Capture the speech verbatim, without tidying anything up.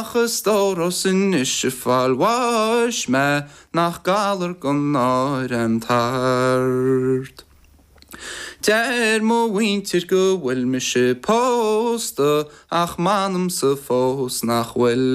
A stór is anois ag fáil bháis mé nach galar gan náire an tart. Deir mo mhuintir go bhfuil mise pósta ach m'anamsa fós nach bhfuil.